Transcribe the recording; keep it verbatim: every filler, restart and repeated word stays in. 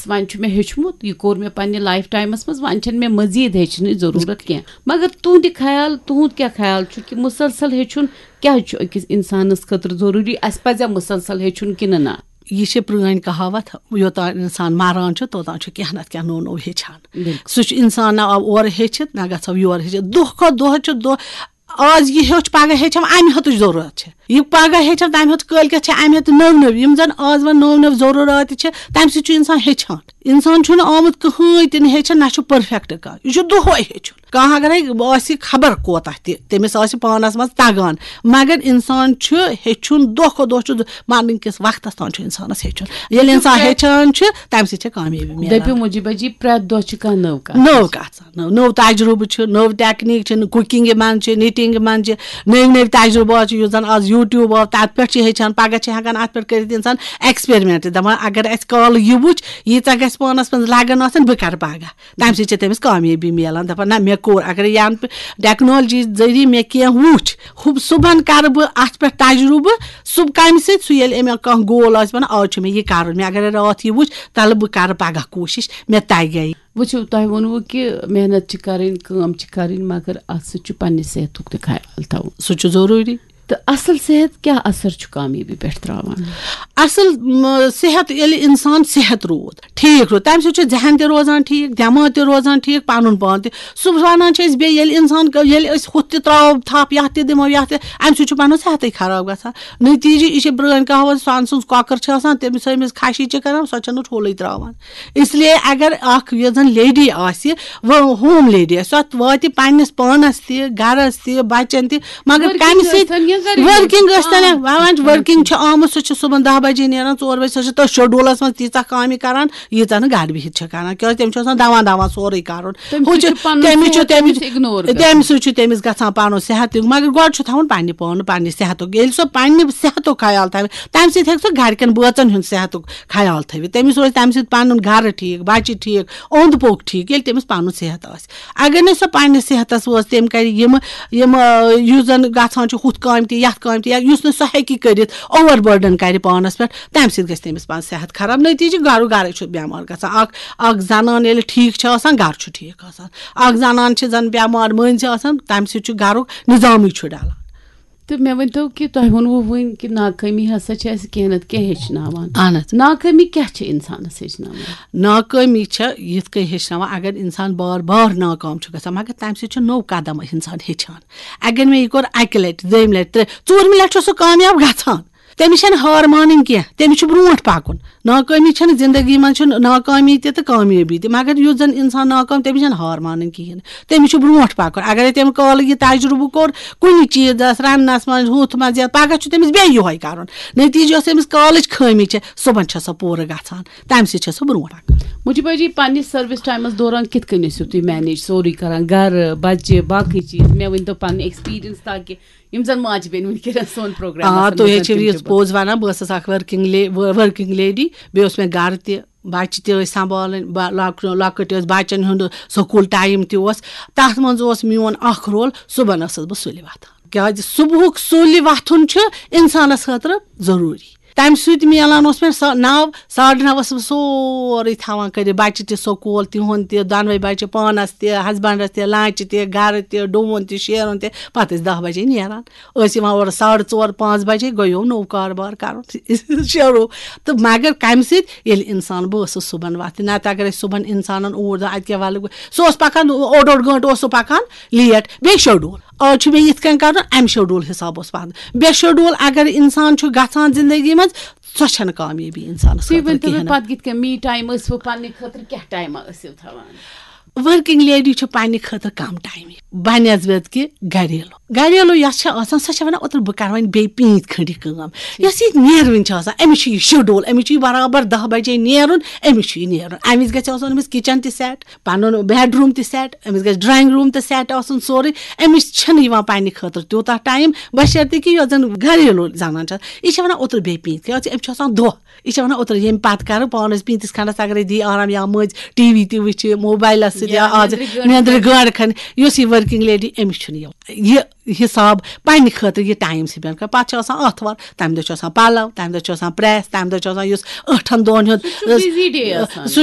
وۄنۍ چھُ مےٚ ہیوٚچھمُت، یہِ کوٚر مےٚ پننہِ لایف ٹایمس منٛز، وۄنۍ چھَنہٕ مےٚ مزید ہیٚچھنٕچ ضروٗرت کینٛہہ۔ مگر تُہنٛدِ خیال، تُہنٛد کیٛاہ خیال چھُ کہِ مسلسل ہیٚچھُن کیٛازِ چھُ أکِس انسانس خٲطرٕ ضروٗری؟ اسہِ پزیا مسلسل ہیٚچھُن کِنہٕ نہ؟ یہِ چھِ پرٛٲنۍ کہاوت، یوٚتام انسان مران چھُ، توٚتام چھُ کینٛہہ نتہٕ کینٛہہ نوٚو نوٚو ہیٚچھان۔ بِلکُل۔ سُہ چھُ انسان نہ آو اورٕ ہیٚچھِتھ، نہ گژھو یورٕ ہیٚچھِتھ۔ دۄہ کھۄتہٕ دۄہ چھُ دۄہ، آز یہِ ہیوٚچھ، پگاہ ہیٚچھم، امہِ ہیوٚتُچ ضروٗرت چھِ۔ یہِ پگاہ ہیٚچھم، تمہِ ہیوٚت کٲلۍ کٮ۪تھ چھِ امہِ ہیوٚت نٔو نٔو، یِم زن آز وۄنۍ نٔو نٔو ضروٗرت چھِ، تمہِ سۭتۍ چھُ انسان ہیٚچھان۔ انسان چھُنہٕ آمُت کٕہٕنۍ تہِ نہٕ ہیٚچھان، نہ چھُ پٔرفیکٹ کانٛہہ، یہِ چھُ دۄہے ہیٚچھُن۔ کانٛہہ اگرے آسہِ خبر کوتاہ تہِ، تٔمِس آسہِ پانس منٛز تگان، مگر انسان چھُ ہیٚچھُن دۄہ کھۄتہٕ دۄہ چھُ، مرنہٕ کِس وقتس تام چھُ انسانس ہیٚچھُن۔ ییٚلہِ انسان ہیٚچھان چھُ، تمہِ سۭتۍ چھِ کامیٲبی میلان۔ دٔپِو مجیبہ جی، پرٛٮ۪تھ دۄہ چھِ کانٛہہ نٔو کتھ۔ نٔو کتھ، نٔو، نٔو تجربہٕ چھُ، نٔو ٹیکنیک چھِ، کُکِنگ منٛز چھِ، نِٹِنگ منٛز چھِ، نٔوۍ نٔوۍ تجربات چھِ، یُس زن آز یوٗٹیوب آو، تتھ پٮ۪ٹھ چھِ ہیٚچھان۔ پگاہ چھِ ہٮ۪کان اتھ پٮ۪ٹھ کٔرِتھ انسان ایکسپیرمنٹ، دپان اگر اسہِ کالہٕ یہِ وُچھ، ییٖژاہ گژھِ پانس منٛز لگن آسٕنۍ، بہٕ کرٕ پگاہ۔ تمہِ سۭتۍ چھِ تٔمِس کامیٲبی میلان، دپان نہ، مےٚ کوٚر۔ اگر یہِ انہٕ ٹیکنالوجی ذٔریعہٕ مےٚ کینٛہہ وُچھ، ہُہ صُبحن کرٕ بہٕ اتھ پٮ۪ٹھ تجربہٕ، سُہ کمہِ سۭتۍ؟ سُہ ییٚلہِ أمۍ کانٛہہ گول آسہِ ونان، آز چھُ مےٚ یہِ کرُن، مےٚ اگر راتھ یہِ وُچھ، تلہٕ بہٕ کرٕ پگاہ کوٗشش، مےٚ تگہِ۔ وٕچھِو، تۄہہِ ووٚنوُ کہِ محنت چھِ کرٕنۍ، کٲم چھِ کرٕنۍ، مگر اتھ سۭتۍ چھُ پننہِ صحتُک تہِ خیال تھاوُن۔ سُہ چھُ ضروٗری۔ تہٕ اصل صحت کیٛاہ اثر چھُ کامیٲبی پٮ۪ٹھ تراوان؟ اصل، م، صحت، ییٚلہِ انسان صحت روٗد، ٹھیٖک روٗد، تمہِ سۭتۍ چھُ ذہن تہِ روزان ٹھیٖک، دٮ۪ماغ تہِ روزان ٹھیٖک، پنُن پان تہِ۔ سُہ ونان چھِ أسۍ بیٚیہِ، ییٚلہِ انسان ک-، ییٚلہِ أسۍ ہُتھ تہِ تراوو تھپھ، یتھ تہِ دِمو، یتھ تہِ، امہِ سۭتۍ چھُ پنُن صحتٕے خراب گژھان۔ نتیجہٕ، یہِ چھِ پرٲنۍ کہاوت، سۄنہٕ سٕنٛز کۄکر چھِ آسان، تٔمِس أمِس خشی چھِ کران، سۄ چھنہٕ ٹھوٗلٕے تراوان۔ اس لیے اگر اکھ یۄس زن لیڈی آسہِ، وہ ہوم لیڈی آسہِ، سۄ واتہِ پننِس پانس تہِ، گرس تہِ، بچن تہِ، مگر working کمہِ سۭتۍ؟ ٲسۍتن یا گرِ ورکنگ ٲسۍتن۔ آ۔ وۄنۍ ورکنگ چھِ آمٕژ، سۄ چھِ صبحن دہ بجے نیران، ژور بجے، سۄ چھِ تٔتھۍ شیڈولس منٛز تیٖژاہ کامہِ کران، ییٖژاہ نہٕ گرِ بِہِتھ چھِ کران، کیازِ تٔمِس چھُ آسان دوان دوان سورُے کرُن۔ تٔمِس ہُہ سۭتۍ چھُ، چھُ پنُن تٔمِس چھُ، صحت تٔمِس، تٔمِس ignore گژھان۔ تٔمِس سۭتۍ چھُ تٔمِس گژھان پنُن صحت تہِ، مگر گۄڈٕ چھُ تھاوُن پننہِ پانہٕ، پننہِ صحتُک۔ ییٚلہِ سۄ پننہِ صحتُک خیال تھاوِ، تمہِ سۭتۍ ہیٚکہِ سۄ گرِکٮ۪ن بٲژن ہُنٛد صحتُک خیال تھٲوِتھ۔ تٔمِس روزِ تمہِ سۭتۍ پنُن گرٕ ٹھیٖک، بچہِ ٹھیٖک، اوٚنٛد پوٚک ٹھیٖک، ییٚلہِ تٔمِس پنُن صحت آسہِ۔ اگر نہٕ سۄ پننِس صحتس وٲژ، تٔمۍ کرِ یِم، یِم، آ، یُس زن گژھان چھُ ہُتھ کامہِ تہِ، یتھ کامہِ تہِ، یا یُس نہٕ سۄ ہیٚکہِ کٔرِتھ، اوور بٔرڈن کرِ پانس پٮ۪ٹھ، تمہِ سۭتۍ گژھِ تٔمِس پنُن صحت خراب۔ نتیجہٕ گرُک گرے چھُ بٮ۪مار گژھان۔ اکھ، اکھ زنان ییٚلہِ ٹھیٖک چھِ آسان، گرٕ چھُ ٹھیٖک آسان۔ اکھ زنان چھِ زن بٮ۪مار مٔنٛزۍ آسان، تمہِ سۭتۍ چھُ گرُک نظامٕے چھُ ڈلان۔ تہٕ مےٚ ؤنۍ تو کہِ تۄہہِ ووٚنوُ وٕنۍ کہِ ناکٲمی ہسا چھِ اَسہِ کینٛہہ نتہٕ کینٛہہ ہیٚچھناوان۔ اہن حظ۔ ناکٲمی کیٛاہ چھِ اِنسانَس ہیٚچھناوان؟ ناکٲمی چھےٚ یِتھ کٔنۍ ہیٚچھناوان، اگر اِنسان بار بار ناکام چھُ گژھان، مگر تَمہِ سۭتۍ چھُ نوٚو قدم اِنسان ہیٚچھان۔ اگر مےٚ یہِ کوٚر اَکہِ لَٹہِ، دوٚیِمہِ لَٹہِ، ترٛےٚ، ژوٗرمہِ لَٹہِ چھُ سُہ کامیاب گژھان۔ تٔمِس چھَنہٕ ہار مانٕنۍ کینٛہہ، تٔمِس چھُ برونٛٹھ پَکُن۔ ناکٲمی چھَنہٕ زندگی منٛز، چھُنہٕ ناکٲمی تہِ تہٕ کامیٲبی تہِ، مگر یُس زَن اِنسان ناکام، تٔمِس چھَنہٕ ہار مانٕنۍ کِہیٖنۍ۔ تٔمِس چھُ برونٛٹھ پَکُن۔ اگرے تٔمۍ کالہٕ یہِ تجرُبہٕ کوٚر کُنہِ چیٖزَس، رَننَس منٛز، ہُتھ منٛز، یَتھ، پَگاہ چھُ تٔمِس بیٚیہِ یِہوٚے کَرُن۔ نتیٖجہٕ یۄس أمِس کالٕچ خٲمی چھےٚ، صُبحن چھےٚ سۄ پوٗرٕ گژھان، تَمہِ سۭتۍ چھےٚ سۄ برونٛٹھ پَکان۔ مجیبہ جی، پننِس سروس ٹایمس دوران کِتھ کٔنۍ ٲسِو تُہۍ مینیج سورُے کران، گرٕ، بچہِ، باقٕے چیٖز؟ مےٚ ؤنۍ تو پنٕنۍ ایکسپیرینس، تاکہِ یِم زن ماجہِ بیٚنہِ وٕنکیٚنس سون پروگرام آ، آسن تُہۍ حظ وٕچھان، چھِو تِم یہِ تہِ پوٚز ونان، بہٕ ٲسٕس اکھ ؤرکنگ لے-، ؤ-، ؤرکنگ لیڈی، بیٚیہِ اوس مےٚ گرٕ تہِ، بچہِ تہِ ٲسۍ سنبھالٕنۍ، با-، لۄک-، لۄکٕٹۍ ٲسۍ، بچن ہُنٛد سکوٗل ٹایم تہِ اوس۔ تتھ منٛز اوس میون اکھ رول، صُبحن ٲسٕس بہٕ سُلہِ وۄتھان، کیازِ صُبحُک سُلہِ وۄتھُن چھُ انسانس خٲطرٕ ضروٗری۔ تمہِ سۭتۍ میلان اوس مےٚ سا-، نو، ساڑٕ نو ٲسٕس بہٕ سورُے تھاوان کٔرِتھ، بچہِ تہِ سکوٗل، تِہُنٛد تہِ، دۄنوَے بچہِ، پانس تہِ، ہسبنڈس تہِ، لنچ تہِ، گرٕ تہِ، ڈوٗن تہِ، شیرُن تہِ۔ پتہٕ ٲسۍ دہ بجے نیران، ٲسۍ یِوان اورٕ ساڑٕ ژور، پانٛژھ بجے، گوٚو نوٚو کاربار کرُن شروٗع۔ تہٕ مگر کمہِ سۭتۍ؟ ییٚلہِ انسان، بہٕ ٲسٕس صُبحن وۄتھان، نتہٕ اگر أسۍ صُبحن انسانن اوٗرۍ دَپہو، اتہِ کیٛاہ ولہٕ، سُہ اوس پکان اوٚڑ اوٚڑ گٲنٹہٕ اوس سُہ پکان لیٹ، بیٚیہِ شیڈول۔ آز چھُ مےٚ یِتھ کٔنۍ کرُن، امہِ شیڈول حساب اوس پکان۔ بے شیڈول اگر انسان چھُ گژھان زندگی منٛز، سۄ چھنہٕ کامیٲبی انسانس تُہۍ خٲطرٕ ؤنۍ تو مےٚ کِہیٖنۍ نہٕ۔ پتہٕ کِتھ کٔنۍ می ٹایم ٲسوٕ پننہِ خٲطرٕ، کیٛاہ ٹایما ٲسِو تھاوان؟ ورکنگ لیڈی چھِ پننہِ خٲطرٕ کم ٹایم بنسبت کہِ گریلو۔ گریلو یۄس چھِ آسان، سۄ چھِ ونان، اوترٕ بہٕ کرٕ وۄنۍ بیٚیہِ پیٖنتۍ کھنڈ یہِ کٲم۔ یۄس یہِ نیرٕنۍ چھِ آسان، أمِس چھُ یہِ شیڈول، أمِس چھُ یہِ برابر دہ بجے نیرُن، أمِس چھُ یہِ نیرُن۔ امہِ وِزِ گژھِ آسُن أمِس کچن تہِ سیٹ، پنُن بیڈ روٗم تہِ سیٹ، أمِس گژھِ ڈرایِنگ روٗم تہِ سیٹ آسُن سورُے۔ أمِس چھنہٕ یِوان پننہِ خٲطرٕ تیوٗتاہ ٹایم، بشرطیکہِ یۄس زن گریلو زنان چھِ آسان، یہِ چھِ ونان، اوترٕ بیٚیہِ پیٖنتۍ، کیازِ أمِس چھُ آسان دۄہ۔ یہِ چھِ ونان، اوترٕ ییٚمہِ پتہٕ کرٕ پانس پیٖنتِس کھنڈس اگرے دی آرام یا مٔنٛزۍ ٹی وی تہِ وٕچھِ، موبایلس سۭتۍ یا یا آز نیٚندرِ گٲڑۍ کھنڈ۔ نیٚندرِ گٲڑۍ کھنڈ، یۄس یہِ ورکنگ لیڈی، أمِس چھُنہٕ یِوان یہِ حساب پننہِ خٲطرٕ یہِ ٹایم سپینڈ کرُن۔ پتہٕ چھِ آسان آتھوار، تمہِ دۄہ چھُ آسان پلو، تمہِ دۄہ چھُ آسان پریس، تمہِ دۄہ چھُ آسان یُس ٲٹھن دۄہن ہُنٛد، سُہ چھُ busy day آسان۔ سُہ